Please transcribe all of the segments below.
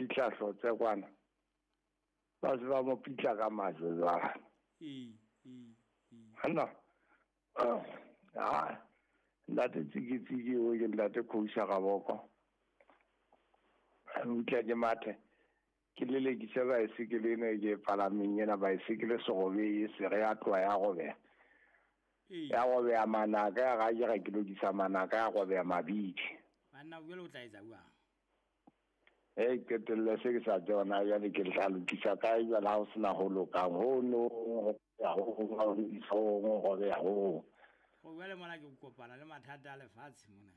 fihla Hlotse kwana, ba se ba mo pitla ka majwe jwale. Ee, ee, ee. Hanna ha ntate Tsikitsiki o ke ntate Khousa Raboko, utlwa ke mathe ke lelekise baesekele ena e ke e palameng ena, baesekele serobe e se re ya tloha ya robeha. Ee. Ya robeha manaka, ya ra ke ra ke lokisa manaka, ya robeha mabidi. Banna jwale o tla etsa jwang? E qetelle se ke sa tsona jwale ke tla lokisa kae jwale ha ho sena ho lokang ho no ho ya ho ho ho ho ho robeha ho. Go jwale mona ke kopana le mathata a lefatshe mona.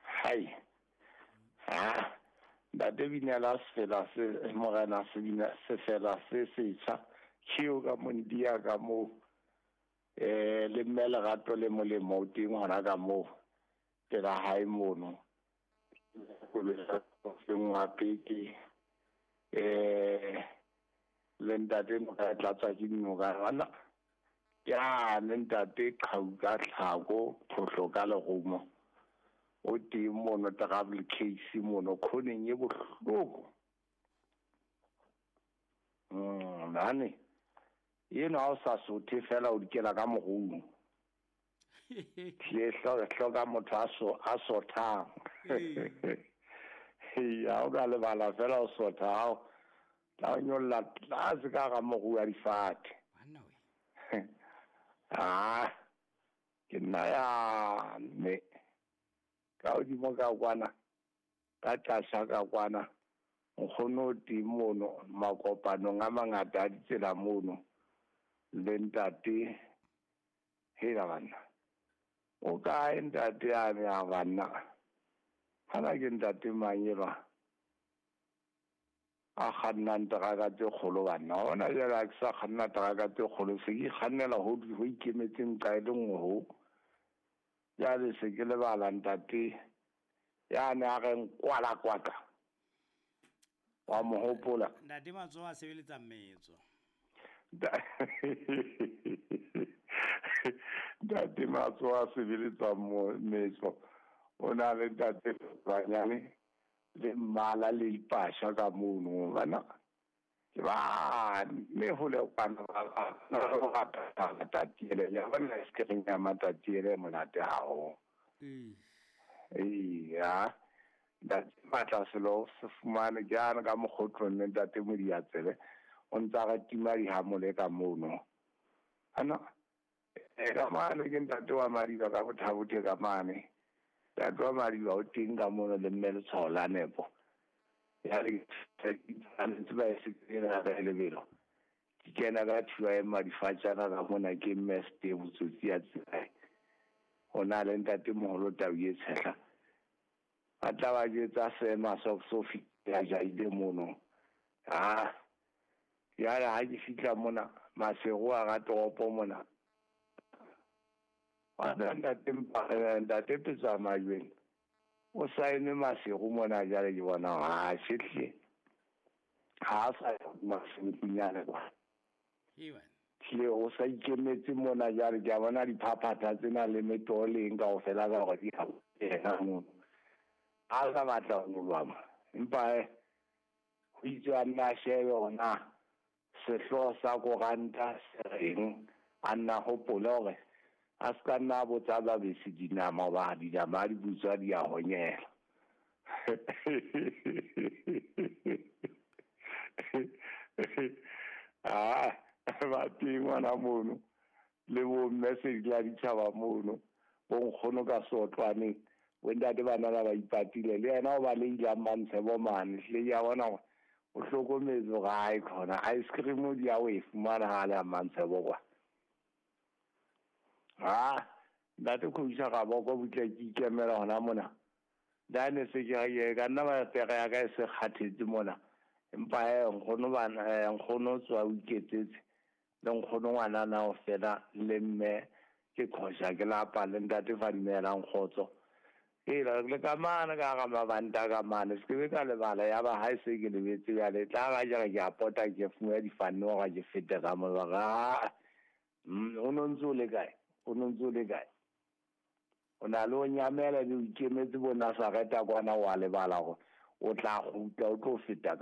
Hai. Ha. Ntate Binela sefela se morena se bina sefela se setjha. Ke ka mondia ka moo. Le mme lerato le molemo o teng hona ka moo. Pela hae mono. Wa peke. Le ntate noka e tlatswa ke dinoka bana. Ya le ntate Qhau ka tlhako, phohlo ka lerumo. O teng mono travel case mono khoneng e bohloko. Nane. Eno ha o sa sothe fela o dikela ka morung. Le hloka motho a sothang. Ya o ka lebala fela o sotha hao. Tla o nyolla tlase ka hara moru wa difate. Banna we. Ah, ke nna ya mme ka hodimo ka kwana, ka tlasa ka kwana, nkgono o teng mono makopanong a mangata a ditsela mono le ntate. Hela banna, o kae ntate yane ya banna? Hana ke ntate mang elwa a kgannang teraka tse kgolo banna? Hona jwale ha ke sa kganna teraka tse kgolo, se ke kgannela ho ikemetseng nqa e le nngwe ho. Jwale se ke lebala ntate yane a reng kwala kwaka. Wa mo hopola? Ntate Matsoho a sebeletsa metso. Ntate Matsoho a sebeletsa metso. O na le ntate Banyane le mmala le dipasha ka mono bana. Ke ba mme ho le kwana ba rata matatiele ya bona ice cream ya matatiele monate haholo. Ee, ntate Matla selo se fumane ke ana ka mokgotlong le ntate Modiatsele o ntsa re tima dihamole ka mono. Ana ka mane ke ntate wa Madiba ka Bothabothe ka mane. Ntate wa Madiba o teng ka mono le mme letshwao la nepo. Ya le ntse ba e sekela ka lebelo. Ke kena ka thiba e madifatjana ka mona ke mme Steve botsotsi ya tsela. Ho na le ntate moholo Tau e tshehla. Ba tla ba jwetsa seema Sofi ya jaile mono. Ah, jwale ha ke fihla mona Maseru a ra toropo mona. Wa ntate ntate Petsa Majweng o saene Maseru mona jwale ke bona ha sehle. Ha sa Maseru kwa. Tle o sa ikemetse mona jwale ke a bona diphaphatha tsena le metoo le eng kaofela ka hore di ha yena mono. Ha sa batla ho nyoloha empa ho itse a nna shebe hore na sehlooho sa koranta se reng, a nna hopole hore a se ka nna botsa babesi dinama hoba dinama ha di butswa di a honyela. Ah, ba teng ngwana mono le bo mme Sedila ditjhaba mono, bo nkgono ka sotlwaneng, bo ntate bana ba ipatile le yena o ba le ilang Mantshebo mane. Hle ke a bona hore o hlokometse hore hae khona ice cream di ya o e fumana ha le a Mantshebo kwa. Ha ntate Khousa Raboko butle ke ikemela hona mona. Dane se ke re ka nna ba pere ya ka e se kgathetse mona. Empa nkgono bana nkgono tswa o iketsetse le nkgono ngwana na o fela le mme ke khosha ke lapa le ntate fa dumelang kgotso. E le ka mane ka hara mabanta ka mane se ke ka lebala ya ba ha e se ke lebetse jwale tla ga jare ke a pota ke fumana difanne hore ke fete ka mo ba o no ntse o le kae? O no ntse o le kae? O na le o nyamela le o ikemetse bo Nazareta kwana wa lebala hore o tla kgutla o tlo feta ka